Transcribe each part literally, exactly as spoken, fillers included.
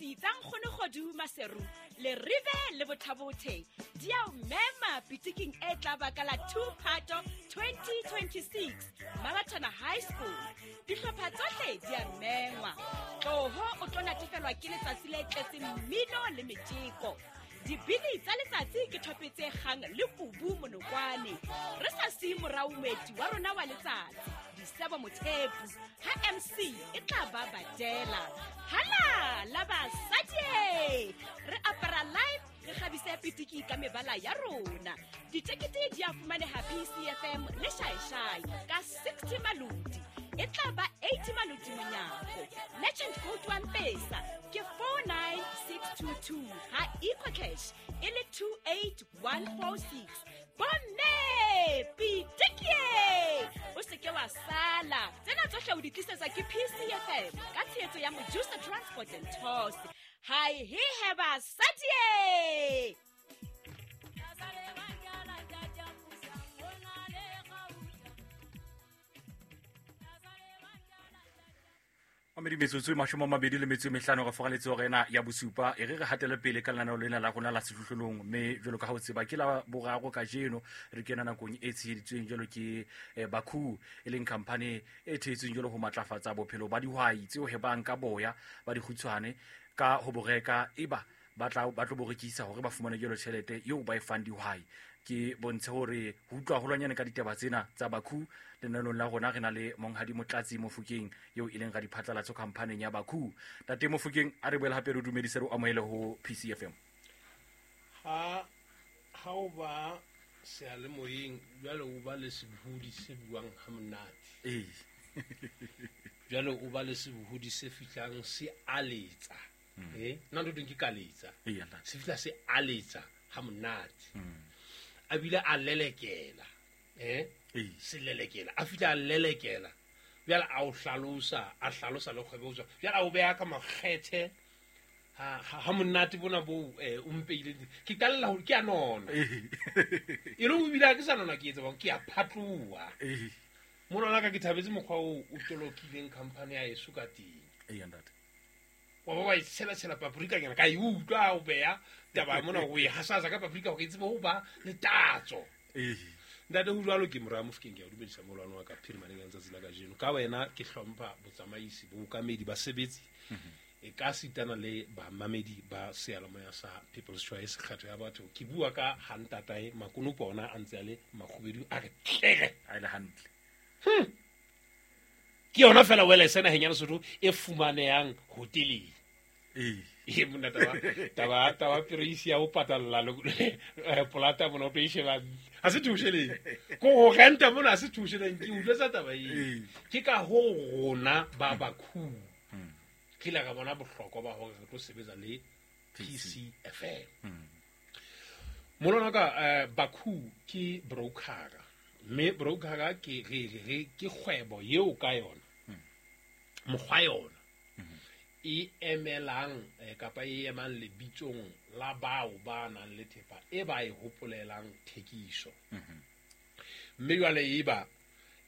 Dithethefatsi tsa Nkgono Kgodu Maseru le Rive le Bothabothe di a o mema pitiking e tla ba ka la two Phato twenty twenty-six Mabatana High School. Dihlopha tsohle di a mengwa. Tloho o tlo natefelwa ke letsatsi le tletseng mmino le metjeko. Dibini tsa letsatsi ke thope tse kgang le kubu monokwane. Re sa siye morao moeti wa rona wa letsatsi, Disebo Mothepu, ha M C e tla ba badela. Hala la basadi! Re apara live, re kgabise pitiki ka mebala ya rona. Ditekete di a fumaneha P C F M le Shaeshai ka sixty maloti. E tla ba eighty maloti monyako. Merchant code wa M-Pesa ke four nine six two two ha EcoCash e le two eight one four six. Bomme pitiki! O se ke wa sala. Tsena tsohle o di tlisetsa ke P C F M ka tshehetso ya Mojusa Transport and Tours. Hai he he basadi! Mamedi metsotso e mashome a mabedi le metso e mehlano re fogaletse hore ena ya bosupa e re re hatele pele ka lenaneo lena la rona la sehlohlolong, mme jwalo ka ha o tseba ke la boraro kajeno re kena nakong e tsheheditsweng jwalo ke Bakhu, e leng company e thehetsweng jwalo ho matlafatsa bophelo ba dihwai tseo hebang ka boya ba dikgutshwane ka ho bo reka eba ba tla ba tlo bo rekisa hore ba fumane jwalo tjhelete eo ba e fang dihwai. Ke bontshe hore ho utlwa haholwanyane ka ditaba tsena tsa Bakhu lenaneong la rona re na le Monghadi Motlatsi Mofokeng eo e leng radiphatlalatso khamphaneng ya Bakhu. Ntate Mofokeng, a re boele hape re dumedise re o amohele ho P C F M. Ha ha o ba seyalemoyeng jwale o ba le sebohodi se buang ha monate. Ee. Jwale o ba le sebohodi se fihlang se aletsa. Eh, nna ntho teng ke kaletsa. Ee, ntate. Se fihla se aletsa ha monate. Mm. A bile a lelekela. Eh? Ee. Se lelekela. A fihla a lelekela. Jwale a o hlalosa, a hlalosa le kgwebo jwang. Jwale a o beha ka makgethe. Ha, ha, ha monate bona bo, eh, o mpeile. Ke qalla ho, ke a nona. Ee. E le ho bile ha ke sa nona ke etsa bang, ke a phatloha. Ee. Mona la ka ke thabetse mokgwa oo o tolokileng company ya heso ka teng. Ee, ntate. Wa ba wa e tshela-tshela paprika nyana, ka e utlwa o beha taba mona o e hasasa ka paprika hore e tsebe ho ba le tatso. Ee. Ntate, ho jwalo ke Moraya Mofokeng, ke a o dumedisa molwane wa ka phirimaneng ya letsatsi la kajeno. Ka wena ke hlompha botsamaisi, bookamedi, basebetsi, e ka sitana le bamamedi ba seyalemoya sa People's Choice, kgetho ya batho. Ke bua ka ha ntatae makonopo ona a ntse a le makgubedu, a re tlere. A le hantle. Hmm. Ke yona fela wele naheng ya Lesotho e fumanehang hoteleng. Ee. E monna, taba, taba, taba pereisi ya ho patalla le, eh, polata mona o tlo e sheba. Ha se theosheleng. Ko ho renta mona ha se theosheleng, ke utlwetsa taba eo. Ee. Ke ka hoo rona ba Bakhu Hmm. re ile ra bona bohlokwa ba hore re tlo sebetsa le P C F M. Hmm. Molwana ka, eh, Bakhu ke brokera. Mme brokera ke re, re, re, ke kgwebo eo ka yona. Hmm. Mokgwa yona. Hmm. E emelang, eh, kapa e emang lebitsong la bao ba nang le thepa e ba e hopolelang thekiso. Hmm. Mme jwale e ba,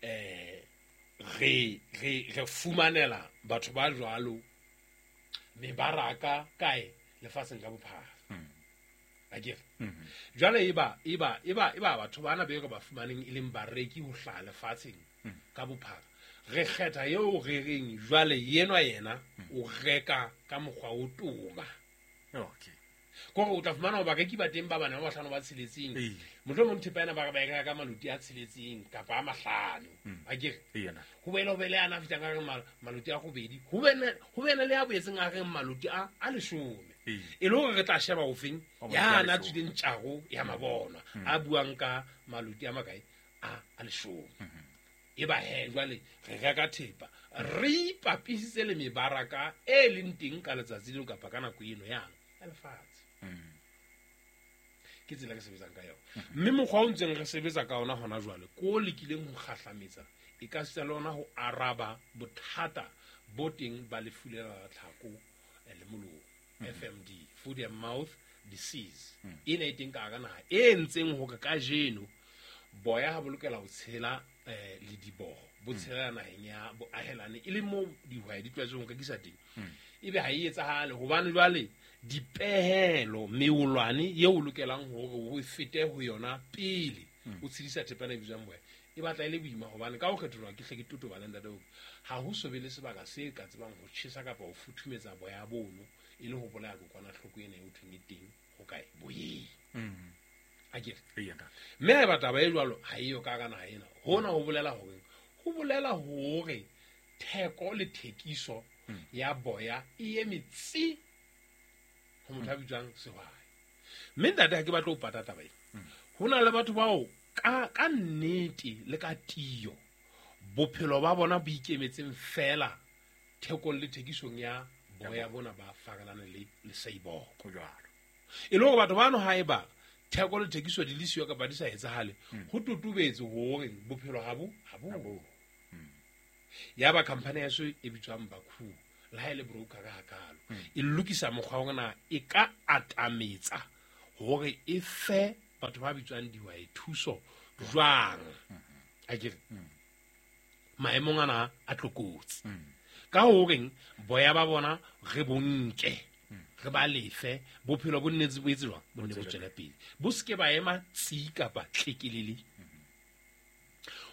eh, re, re, re fumanela batho ba jwalo mebaraka kae lefatsheng ka bophara. Hmm. Akere? Hmm. Jwale e ba, e ba, e ba, e ba batho bana be re ba fumaneng e leng bareki ho hlaha lefatsheng Hmm. ka bophara. Re kgetha eo re reng jwale yenwa yena Hmm. o reka ka mokgwa o toma. Okay. Kore o tla fumana hore bareki ba teng ba bane ba bahlano ba tsheletseng. Ee. Mohlomong thepa ena ba re ba e reka ka maloti a tsheletseng kapa a mahlano. Hmm. Akere? Ee, yena. Ho boele ho be le ana a fihlang a reng mal-, maloti a robedi. Ho be ne, ho be ne le a boetseng a reng maloti a, a leshome. Ee. E le hore re tla sheba ofeng, Wa maloti a ya na leshome. tswileng tjaro ya mabonwa, Hmm. a buang ka maloti a makae? A, a leshome. Hmm. E ba he jwale re reka thepa, re ipapisitse le mebaraka e leng teng ka letsatsi leo kapa ka nako eno yang ya lefatshe. Hmm. Ke tsela re sebetsang ka yona. Mme mokgwa o ntseng re sebetsa ka ona hona jwale, ko o lekileng ho kgahlametsa, e ka sita le ona ho araba bothata bo teng ba lefu lena la tlhako, eh, le molomo, Hmm. F M D, foot and mouth disease. Hmm. Ena e teng ka hara naha, e entseng hore kajeno Boya ha bo lokela ho tshela eh le diboho bo tshela naheng ya boahelane e le mo dihwai di tlwaetseng ho rekisa teng. Ebe ha e etsahale hobane jwale dipehelo meolwane eo o lokelang hore o fete ho yona pele o tshedisa thepa ena e bitswang boya e batla e le boima hobane ka ho kgetholwa ke hle ke totobale ntate hore ha ho so be le sebaka se ka tsebang ho tjhesa kapa ho futhumetsa boya bono e le ho bolaya kokwanahloko ena e thweng e teng ho kae boyeng. Akere mme haeba taba e jwalo ha eyo ka hara naha ena, hona ho bolela hore ho bolela hore theko le thekiso ya boya e eme tsi ho motho a bitswang sehwai. Mme ntate ha ke batle ho pata taba ena, ho na le batho bao ka ka nnete le ka tiyo bophelo ba bona bo ikemetseng fela thekong le thekisong ya boya bona ba farelane le le seiboko. E le hore batho bano haeba theko le thekiso di le siyo kapa di sa etsahale, ho totobetse hore bophelo ha bo ha bo. Ya ba company ya so e bitswang Bakhu le ha e le broker ka hakalo e lokisa mokgwa wa na e ka atametsa hore e fe batho ba bitswang dihwai thuso jwang. Akere maemong ana a tlokotsi ka horeng boya ba bona re bonke re ba lefe bophelo bo nnetse bo etse jwang bo nne bo tswele pele bo seke ba ema tsi kapa tlekelele.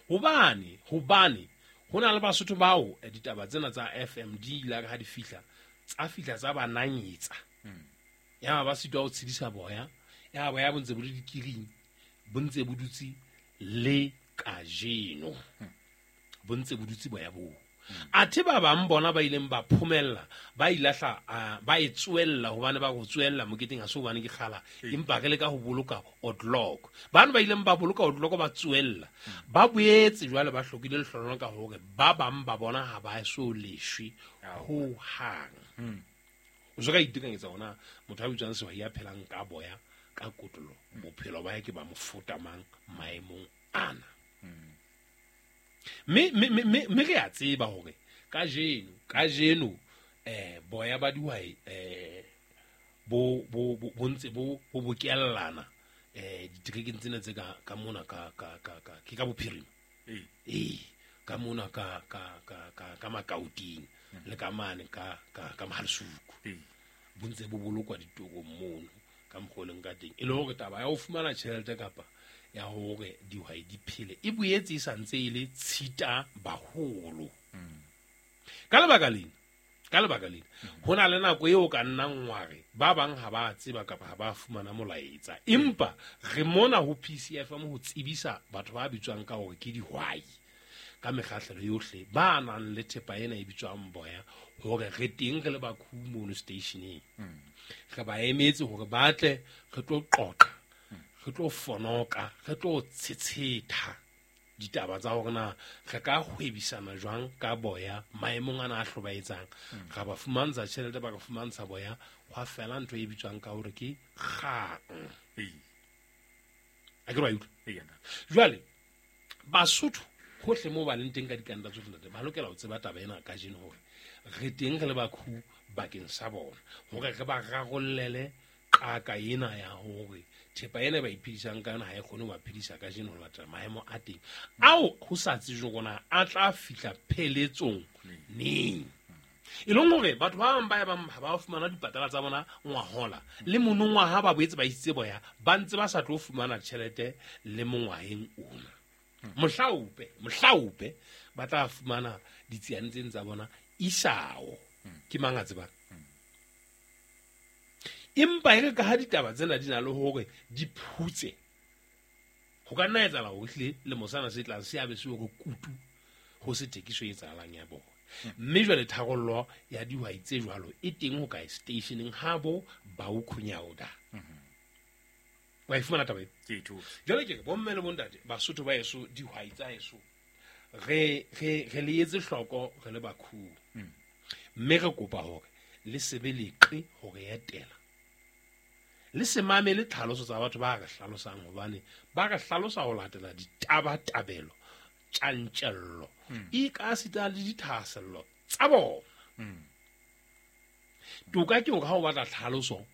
Hobane hobane ho na le Basotho bao ditaba tsena tsa F M D la ha di fihla tsa fihla tsa ba nanyetsa ya ba sitwa ho tshedisa boya ya boya bo ntse bo le dikiring bo ntse bo dutse le kajeno bo ntse bo dutse boya bo. Athe ba bang bona ba ileng ba phomella ba ilahla ba e tswella hobane ba go tswella moketeng ha se hobane ke kgala empa re le ka ho boloka odlock. Bana ba ileng ba boloka odlock ba tswella ba boetse jwale ba hlokile lehlonolo ka hore ba bang ba bona ha ba so leshwe ho hang. O so ka itekanyetsa hona motho a bitswang sehwai ya phelang ka boya ka kotlo bophelo ba hae ke ba mofuta mang maemong ana. Me me me me re a tseba hore kajeno kajeno eh boya ba dihwai eh bo bo bo ntse bo bo bokellana eh ditrekeng tsena tse ka ka mona ka ka ka ka ke ka bophirima eh ka mona ka ka ka ka ka Makauting le ka mane ka ka ka Mahalsuku bo ntse bo bolokwa ditorong mono ka mokgoleng ka teng e le hore taba ya ho fumana tjhelete kapa ya hore dihwai di phele e boetse e sa ntse e le tshita baholo. Ka lebaka lena ka lebaka lena ho na le nako eo ka nnang wa re ba bang ha ba tseba kapa ha ba fumana molaetsa empa re mona ho P C F M ho tsebisa batho ba bitswang ka hore ke dihwai ka mekgahlelo yohle ba nang le thepa ena e bitswang boya hore re teng re le Bakhu mono stationeng. Re ba emetse hore ba tle re tlo qoqa re tlo fonoka re tlo tshetsheta ditaba tsa hore na re ka hwebisana jwang ka boya maemong ana a hlobaetsang. Ra ba fumantsha tjhelete ba ka fumantsha boya hwa fela ntho e bitswang ka hore ke kgang. A ke re wa utlwa? Jwale Basotho hohle moo ba leng teng ka dikanta tsohle ntate ba lokela ho tseba taba ena kajeno hore re teng re le Bakhu bakeng sa bona hore re ba rarollele qaka ena ya hore thepa ena ba iphedisang ka yona ha e kgone ho ba phedisa kajeno ho latela maemo a teng ao ho sa tsejwe hore a tla fihla pheletsong neng. E leng hore batho ba bang ba bang ha ba fumana dipatala tsa bona ngwahola le monongwaha ba boetse ba isitse boya ba ntse ba sa tlo fumana tjhelete le mongwaheng ona. Mohlaope mohlaope ba tla fumana ditsiane tseng tsa bona isao ke mang a tsebang. Empa e re ka ha ditaba tsena di na le hore di phutse ho ka nna etsahala hore ehlile le mosana se tlang se abe se hore kutu ho se thekiso e etsahalang ya bona. Mme jwale tharollo ya dihwai tse jwalo e teng ho kae stationeng ha bo Baukhunyaoda. Wa e fumana taba e? Ke ithuse. Jwale ke re bomme le bontate Basotho ba heso dihwai tsa heso re re re le etse hloko re le Bakhu. Mme re kopa hore le sebe leqe hore etela le se mamele tlhaloso tsa batho ba re hlalosang hobane ba re hlalosa ho latela ditabatabelo tjantjello e ka sita le dithahasello tsa bona. Toka ke hore ha o batla tlhaloso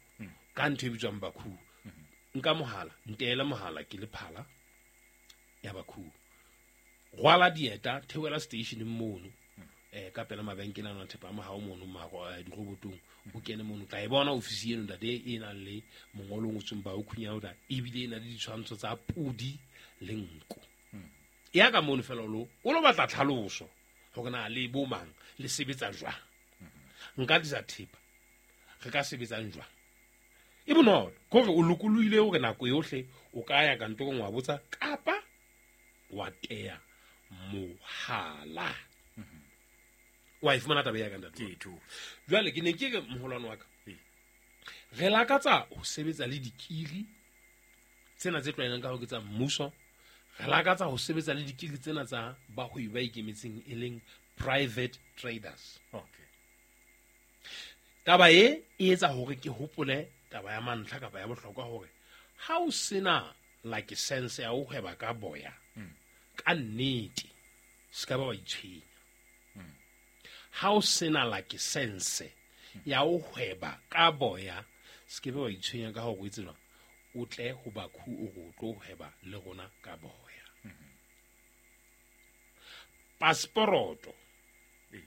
ka ntho e bitswang Bakhu nka mohala nteela mohala ke le phala Ya Bakhu. Rwala dieta theohela station mono. Eh ka pela mabenkele a thepa a mahao mono maro dirobotong o kene mono tla e bona ofisi eno ntate e nang le mongolo o ngotsweng ba o khunya o da ebile e na le ditshwantsho tsa pudi le nko. Ya ka mono fela lo o lo batla tlhaloso hore na le bo mang le sebetsa jwang. Nka tlisa thepa re ka sebetsang jwang. E bonolo kore o lokolohile hore nako yohle o ka ya kantorong wa botsa kapa wa teya mohala. Wa e fumana taba ya ka ntate. Ke tho. Jwale ke ne ke re moholwane wa ka. Re lakatsa ho sebetsa le dikiri tsena tse tlwaelang ka ho ke tsa mmuso. Re lakatsa ho sebetsa le dikiri tsena tsa bahwebi ba ikemetseng e leng private traders. Okay. Taba e e etsa hore ke hopole taba ya mantlha kapa ya bohlokwa hore ha o sena license ya ho hweba ka boya ka nnete se ka ba wa itshwenya. Ha o sena license ya ho hweba ka boya se ke be wa itshwenya ka hore o itse jwang o tle ho Bakhu o re o tlo hweba le rona ka boya. Passport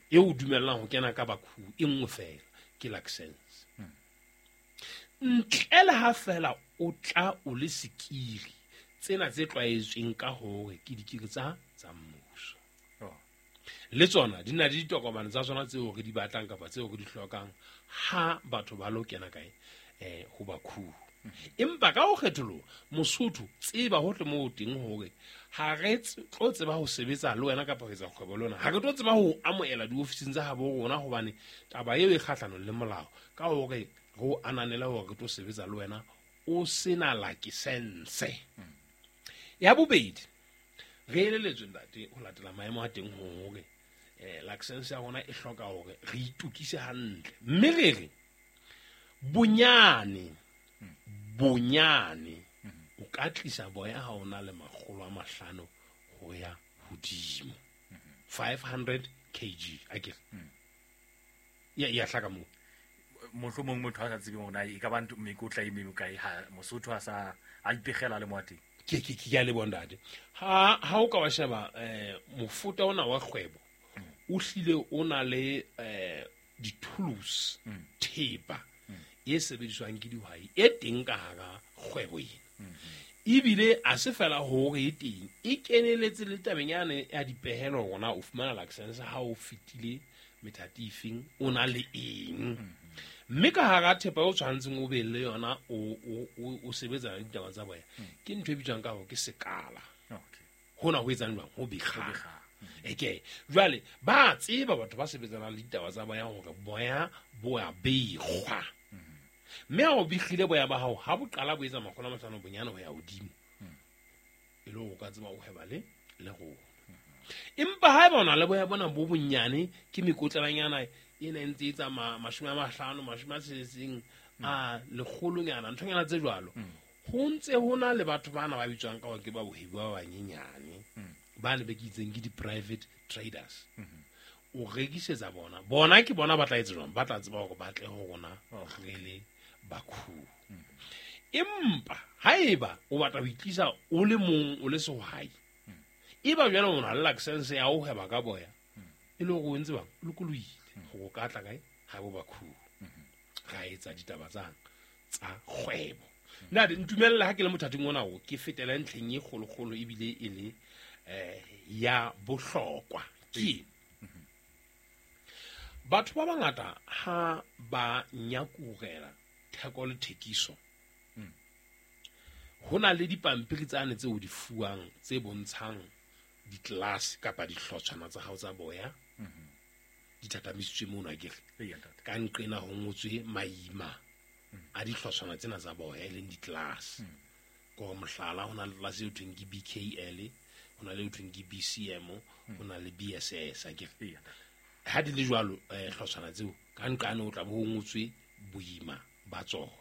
e o dumellang ho kena ka Bakhu e nngwe fela ke license. Ntle le ha fela o tla o le sekiri tsena tse tlwaetsweng ka hore ke dikiri tsa tsa mmuso. Le tsona di na le ditokomane tsa tsona tseo re di batlang kapa tseo re di hlokang ha batho ba lo kena kae eh ho Bakhu. Empa ka ho kgetholoha Mosotho tseba hohle moo teng hore ha re tlo tseba ho sebetsa le wena kapa ho etsa kgwebo le wena, ha re tlo tseba ho amohela diofising tsa habo rona hobane taba eo e kgahlanong le molao ka hore re o ananela hore re tlo sebetsa le wena o sena license. Ya bobedi re eleletswe ntate ho latela maemo a teng hore eh license ya rona e hloka hore re itukise hantle mme re re bonyane bonyane o ka tlisa boya ha ona le makgolo a mahlano ho ya hodimo five hundred kilograms akere ya ya hlaka mo mohlomong motho a sa tsebeng hore na e ka ba ntho mekotla e mekae ha Mosotho a sa a ipegela le mo teng. Ke ke ke ya le bondate ha ha o ka wa sheba eh mofuta ona wa kgwebo o hlile o na le eh di-tools thepa e sebediswang ke dihwai e teng ka hara kgwebo ena. Ebile a se fela hore e teng e keneletse le tabeng yane ya dipehelo rona o fumana license ha o fetile methati efeng o na le eng. Mme ka hara thepa o tshwantseng o be le yona o o o sebetsa le ditaba tsa boya ke ntho e bitswang ka hore ke sekala. Okay. Hona ho etsang jwang ho bekga. Eke jwale ba tseba batho ba sebetsanang le ditaba tsa boya hore boya bo a bekgwa. Mme ha o bekhile boya ba hao ha bo qala bo etsa makgolo a mahlano bonyane ho ya hodimo e le hore o ka tseba o hweba le le rona. Empa haeba o na le boya bona bo bonyane ke mekotlelanyana ena e ntse e etsa mashome a mahlano mashome a tsheletseng a lekgolonyana nthonyana tse jwalo ho ntse ho na le batho bana ba bitswang ka hore ke ba bohebi ba banyenyane ba ne be ke itseng ke di-private traders. O rekisetsa bona bona ke bona ba tla etsa jwang ba tla tseba hore ba tle ho rona re le Bakhu. Empa haeba o batla ho itlisa o le mong o le sehwai eba jwale o na le license ya ho hweba ka boya e le hore o ntse bang o lokolohile hore o ka tla kae ha bo Bakhu ra etsa ditaba tsa tsa kgwebo. Nna ntumella ha ke le mothating ona o ke fetela ntlheng e kgolokgolo ebile e le eh ya bohlokwa ke batho ba bangata ha ba nyakurela theko le thekiso ho na le dipampiri tsane tseo di fuwang tse bontshang ditlelase kapa dihlotshwana tsa hao tsa boya di thathamisitswe mono akere ka nqena ho ngotswe maima a dihlotshwana tsena tsa boya e leng ditlelase. Ko mohlala ho na le tlelase eo thweng ke B K L, ho na le eo thweng ke B C M, ho na le B S S akere. Ha di le jwalo eh hlotshwana tseo ka nqane o tla bo ho ngotswe boima ba tsona.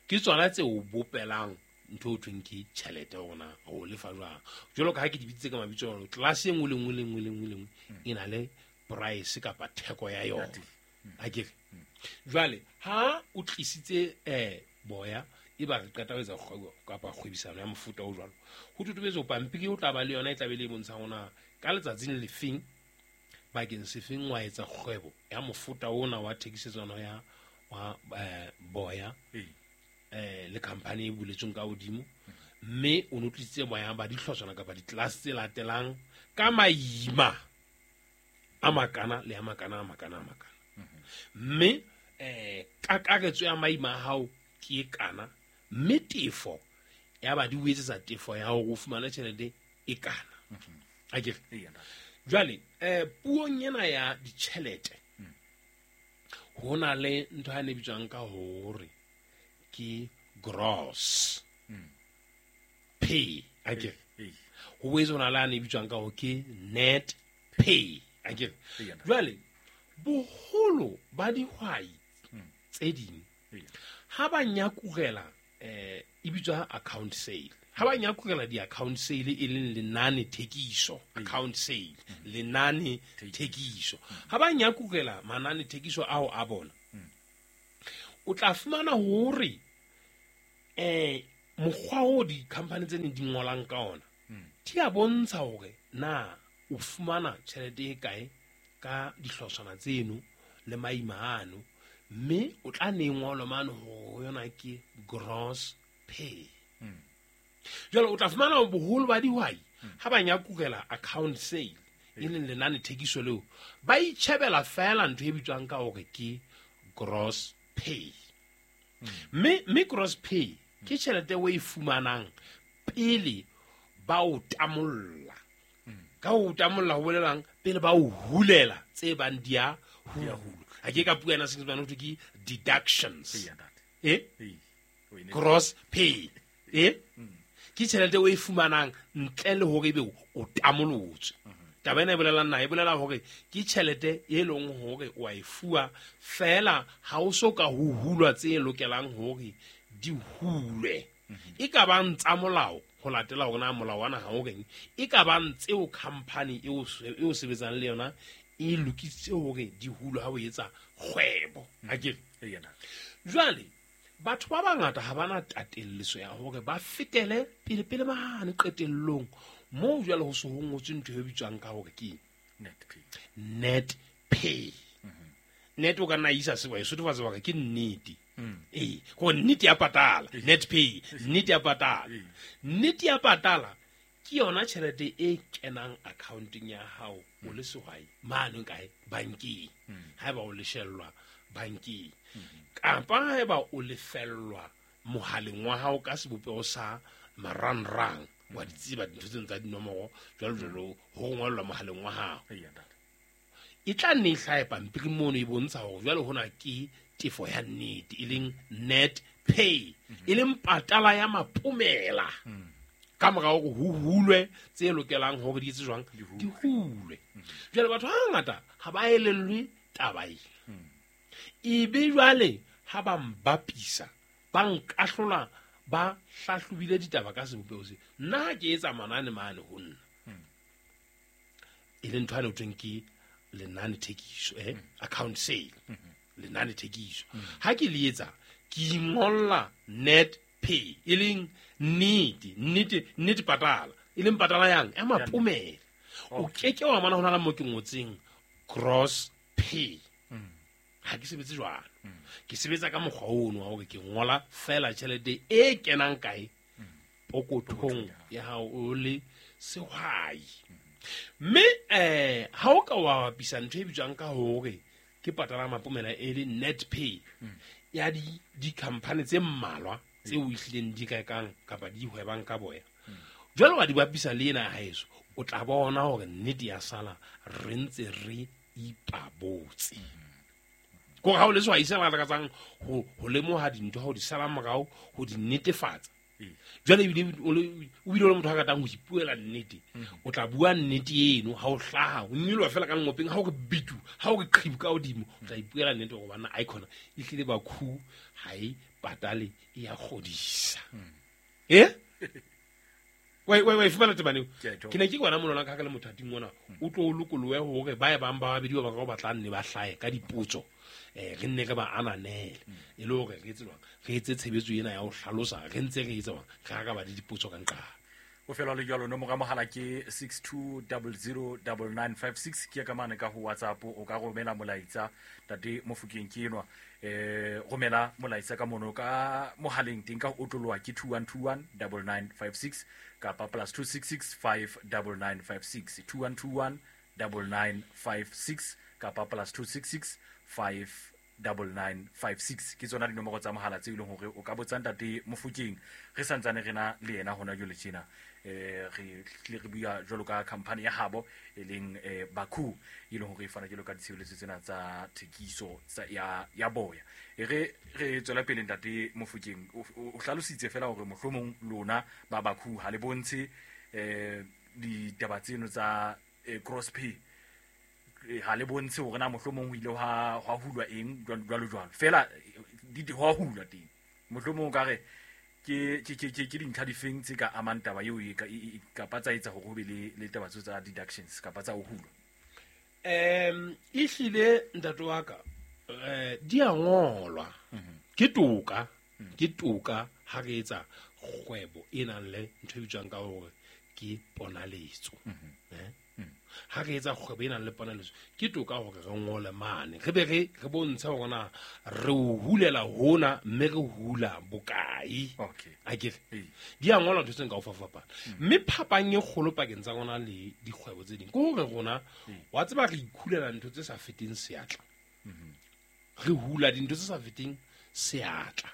Ke tsona tse o bopelang ntho o thweng ke tjhelete rona ho lefa jwang. Jwalo ka ha ke di bitsitse ka mabitso a tlelase e nngwe le nngwe le nngwe le nngwe le nngwe e na le price kapa theko ya yona akere. Jwale ha o tlisitse eh boya e ba re qeta ho etsa kgwebo kapa kgwebisano ya mofuta o jwalo ho totobetse ho pampiri o tla ba le yona e tla be le e bontshang hore ka letsatsing lefeng bakeng sefeng wa etsa kgwebo ya mofuta ona wa thekisetsano ya wa eh, boya eh le company e buletsweng ka hodimo mme o no tlisitse boya ba dihlotshwana kapa di-class tse latelang ka maima a makana le a makana a makana a makana mme eh kakaretso ya maima a hao ke e kana mme tefo ya ba di o etsetsa tefo ya hore o fumane tjhelete e kana akere jwale eh puong ena ya ditjhelete ho na le ntho ya ne bitswang ka hore ke gross pay akere ho boetse ho na le a ne bitswang ka hore ke net pay akere jwale boholo ba dihwai tse ding ha ba nyakugela eh e bitswa account sale ha ba nyakugela di-account sale e leng lenane thekiso account sale lenane thekiso ha ba nyakugela manane thekiso ao a bona o tla fumana hore eh mokgwa o di-company tse neng di ngolang ka ona di a bontsha hore na o fumana tjhelete e kae ka dihlotshwana tseno le maima ano mme o tla ne ngolwa mane hore yona ke gross pay jwale o tla fumana boholo ba dihwai ha ba nyakugela account sale e leng lenane thekiso leo ba itjhebela fela ntho e bitswang ka hore ke gross pay mme mme gross pay ke tjhelete o e fumanang pele ba o tamolla ka o tamolla ho bolelang pele ba o hulela tse bang di a hulwa ha ke ka puo ena Senyesemane ho thwe ke deductions eh gross pay eh ke tjhelete o e fumanang ntle le hore ebe o tamolotswe taba ena e bolelang na e bolela hore ke tjhelete e leng hore o a e fuwa fela ha o so ka ho hulwa tse lokelang hore di hulwe e ka bang tsa molao ho latela hore na molao wa naha o reng e ka bang tseo company eo eo sebetsang le yona e lokisitse hore di hulwe ha o etsa kgwebo akere jwale batho ba bangata ha bana tatelliso ya hore ba fetele pele pele mane qetellong moo jwale ho se ho ngotswe ntho e bitswang ka hore ke net pay net pay net o ka nna isa se wa e sotofatsa hore ke nnete ee go nnete ya patala net pay nnete ya patala nnete ya patala ke yona tjhelete e kenang accounteng ya hao o le sehwai mane kae bankeng haeba o leshellwa bankeng kapa haeba o lefellwa mohaleng wa hao ka sebopeho sa marangrang wa di tseba dintho tseno tsa dinomoro jwalo jwalo ho ngwallwa mohaleng wa hao e tla nne e hlahe pampiri mono e bontsha hore jwale hona ke tefo ya nnete e leng net pay e leng patala ya mapomela ka mora hore ho hulwe tse lokelang hore di etse jwang di hulwe jwale batho ba bangata ha ba elellwe taba e ebe jwale ha ba mbapisa ba nkahlola ba hlahlobile ditaba ka sebopeho se nna ha ke etsa manane mane ho nna e leng ntho ane ho thweng ke lenane thekiso eh account sale lenane thekiso ha ke le etsa ke ingolla net pay e leng nnete nnete nnete patala e leng patala yang ya mapomela o keke wa mana ho na le mo ke ngotseng gross pay ha ke sebetse jwalo ke sebetsa ka mokgwa ono wa hore ke ngola fela tjhelete e kenang kae pokothong ya hao o le sehwai mme eh ha o ka wa bapisa ntho e bitswang ka hore ke patala mapomela e le net pay ya di di-company tse mmalwa tseo ehlileng di rekang kapa di hwebang ka boya jwale wa di bapisa le ena ya haeso o tla bona hore nnete ya sala re ntse re ipabotse kore ha o le sehwai se lakatsang ho ho lemoha dintho ha o di sala morao ho di netefatsa jwale ebile o bile o le motho a ratang ho ipuela nnete o tla bua nnete eno ha o hlaha o nyoloha fela ka ngopeng ha o re bitu ha o re qhibu ka hodimo o tla ipuela nnete hore bana icon e hlile ba khu ha e patale e ya kgodisa eh Wa wa wa fumana tebane ke ne ke bona monona ka ka le mothating ona o tlo lokoloe hore ba e bang ba babedi ba ba batla nne ba hlae ka dipotso eh re nne re ba ananele e le hore re etse jwang re etse tshebetso ena ya ho hlalosa re ntse re etsa jwang re ka ba le dipotso ka nqa o fela le jalo nomoro ya mohala ke six two zero zero nine nine five six ke ka mane ka ho WhatsApp o ka romela molaetsa tate Mofokeng ke enwa eh romela molaetsa ka mono ka mohaleng teng ka ho otloloha ke two one two one nine nine five six kapa plus two six six five nine nine five six two one two one nine nine five six kapa plus two six six five nine nine five six ke tsona dinomoro tsa mohala tse ileng hore o ka botsa ntate Mofokeng re santsane re na le yena hona jwale tjena eh re tle re bua jwalo ka company ya habo e leng eh Baku e leng hore e fana jwalo ka ditshebeletso tsena tsa thekiso tsa ya ya boya e re re tswela pele ntate Mofokeng o hlalositse fela hore mohlomong lona ba Baku ha le bontshe eh ditaba tseno tsa cross pay ha le bontshe hore na mohlomong ho ile ha ha hulwa eng jwalo jwalo fela di ho hulwa teng mohlomong ka re ke ke ke ke dintlha difeng tse ka amang taba eo e kapa tsa etsa hore ho be le le taba tsa deductions kapa tsa ho hulwa em ehlile ntate wa ka eh di a ngolwa ke toka ke toka ha re etsa kgwebo e nang le ntho e bitswang ka hore ke ponaletso eh ha re etsa kgwebo e nang le ponaletso ke toka hore re ngole mane re be re re bontshe hore na re o hulela hona mme re hula bokae okay akere di a ngolwa ntho tse nka o fapana mme phapang e kgolo pakeng tsa rona le dikgwebo tse ding ke hore rona wa tseba re ikhulela ntho tse sa feteng seatla re hula dintho tse sa feteng seatla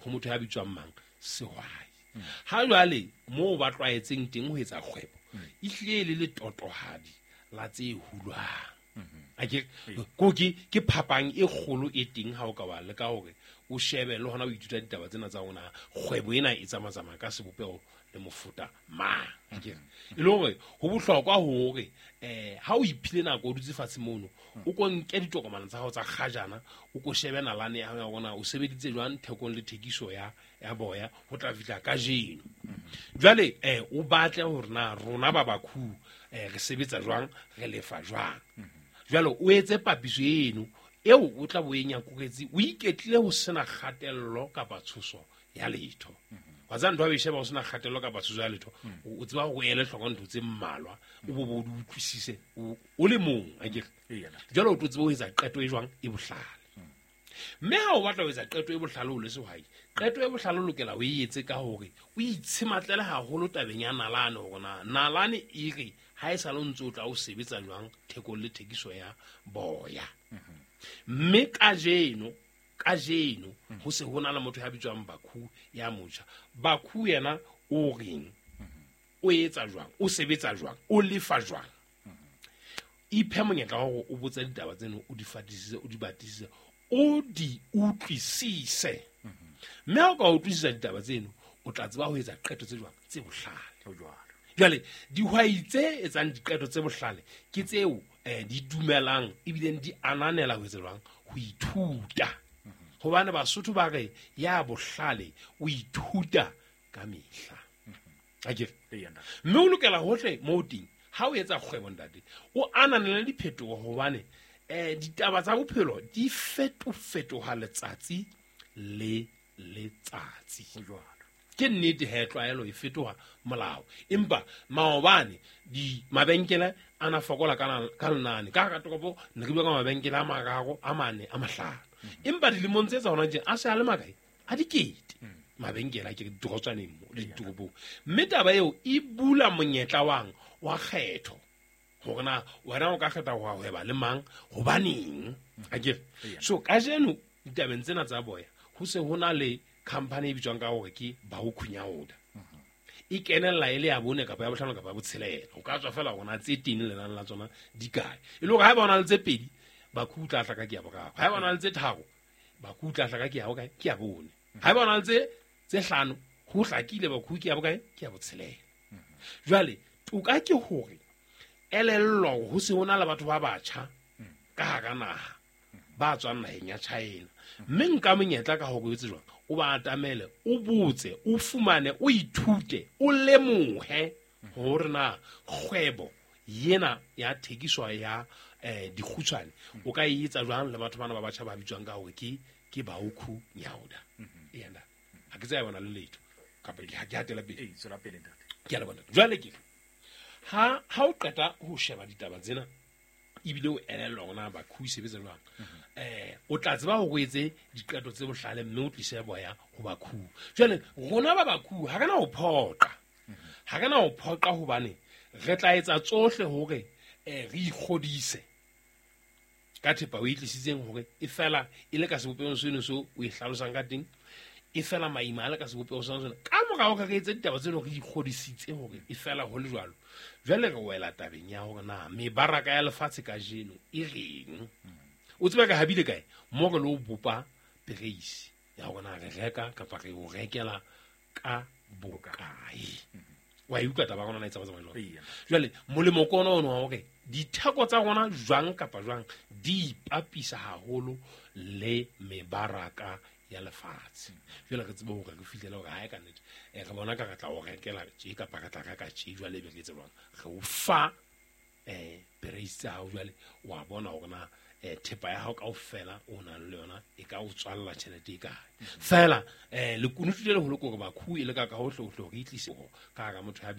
ho motho ya bitswang mang sehwai ha jwale moo ba tlwaetseng teng ho etsa kgwebo e hlile le letotohadi la tse hulwang akere ko ke ke phapang e kgolo e teng ha o ka wa le ka hore o shebe le hona o ithuta ditaba tsena tsa rona kgwebo ena e tsamatsamaya ka sebopeho le mofuta mang akere e le hore ho bohlokwa hore eh ha o iphile nako o dutse fatshe mono o ko nke ditokomane tsa hao tsa kgajana o ko shebe nalane ya hao rona o sebeditse jwang thekong le thekiso ya ya boya ho tla fihla kajeno jwale eh o batle hore na rona ba Baku eh re sebetsa jwang re lefa jwang jwale o etse papiso eno eo o tla bo e nyakuretse o iketlile ho sena kgatello kapa tshoso ya letho wa tsa ntho a sheba ho sena kgatello kapa tshoso ya letho o tseba ho ele hloko ntho tse mmalwa o bo bo di utlwisise o le mong akere jwale o tlo tseba ho etsa qeto e jwang e bohlale mme ha o batla ho etsa qeto e bohlale o le sehwai qeto e bohlale o lokela o e etse ka hore o itshimatlele haholo tabeng ya nalane hore na nalane e re ha e sa le ntse o tla o sebetsa jwang thekong le thekiso ya boya mme kajeno kajeno ho se ho na le motho ya bitswang Baku ya motjha Baku yena o reng o etsa jwang o sebetsa jwang o lefa jwang iphe monyetla wa hore o botse ditaba tseno o di fatisise o di batisise o di utlwisise mme ha o ka utlwisisa ditaba tseno o tla tseba ho etsa qeto tse jwang tse bohlale jwale dihwai tse etsang diqeto tse bohlale ke tseo eh di dumelang ebileng di ananela ho etsa jwang ho ithuta hobane Basotho ba re ya bohlale o ithuta ka mehla akere mme o lokela hohle moo teng ha o etsa kgwebo ntate o ananele diphetoho hobane eh ditaba tsa bophelo di fetofetoha letsatsi le letsatsi ke nnete he tlwaelo e fetoha molao empa maobane di mabenkele a na fokola ka ka lenane ka ka toropo ne re bua ka mabenkele a mararo a mane a mahlano empa dilemong tse tsa hona tje a se a le makae a dikete mabenkele a ke ditorotswaneng mo le ditoropong mme taba eo e bula monyetla wang wa kgetho hore na wena o ka kgetha ho hweba le mang hobaneng akere so kajeno ditabeng tsena tsa boya ho se ho na le company e bitswang ka hore ke Baukhunyauda e kenella e le ya bone kapa ya bohlano kapa ya botshelela o ka tswa fela hore na tse teng lenane la tsona di kae e le hore ha ba ona le tse pedi Baku tla tla ka ke ya boraro ha ba ona le tse tharo Baku tla tla ka ke ya bokae ke ya bone ha ba ona le tse tse hlano ho hlakile Baku ke ya bokae ke ya botshelela jwale toka ke hore elellwa ho se hona le batho ba batjha ka hara naha ba tswang naheng ya China. Mme nka monyetla ka hore o etse jwang, o ba atamele, o botse, o fumane, o ithute, o lemohe hore na kgwebo yena ya thekiso ya eh dikgutshwane o ka e etsa jwang le batho bana ba batjha ba bitswang ka hore ke ke Baukhu Nyauda. Ena ha ke tsaya bona le letho kapa ke ha ke hatela pele. Ee, tswela pele ntate. Ke a leboha ntate. Jwale ke ha ha o qeta ho sheba ditaba tsena ebile o elellwa hore na Bakhu e sebetsa jwang, eh o tla tseba hore o etse diqeto tse bohlale mme o tlise boya ho Bakhu. Jwale rona ba Bakhu ha re na ho phoqa, ha re na ho phoqa hobane re tla etsa tsohle hore eh re ikgodise ka thepa o e tlisitseng hore e fela e le ka sebopehong seno seo o e hlalosang ka teng, e fela maima a le ka sebopeho sa sona. Ka mora hore re etse ditaba tseno re ikgodisitse hore e fela ho le jwalo, jwale re wela tabeng ya hore na mebaraka ya lefatshe kajeno e reng. O tseba ka habile kae mo re lo bopa pereisi ya hore na re reka kapa re o rekela ka bokae. Wa e utlwa taba ya rona na e tsamaya jwang? Eya. Jwale molemo ke ona ono wa hore ditheko tsa rona jwang kapa jwang di ipapisa haholo le mebaraka ya lefatshe. Jwale re tsebe hore re fihlele hore ha e ka nnete, eh, re bona ka re tla o rekela tje kapa re tla reka tje, jwale ebe re etse jwang, re o fa eh pereisi tsa hao. Jwale wa bona hore na eh thepa ya hao kaofela o nang le yona e ka o tswalla tjhelete e kae. Feela eh lekunutu le leholo ke hore Bakhu e leka ka hohle hohle hore e tlise ka hara motho ya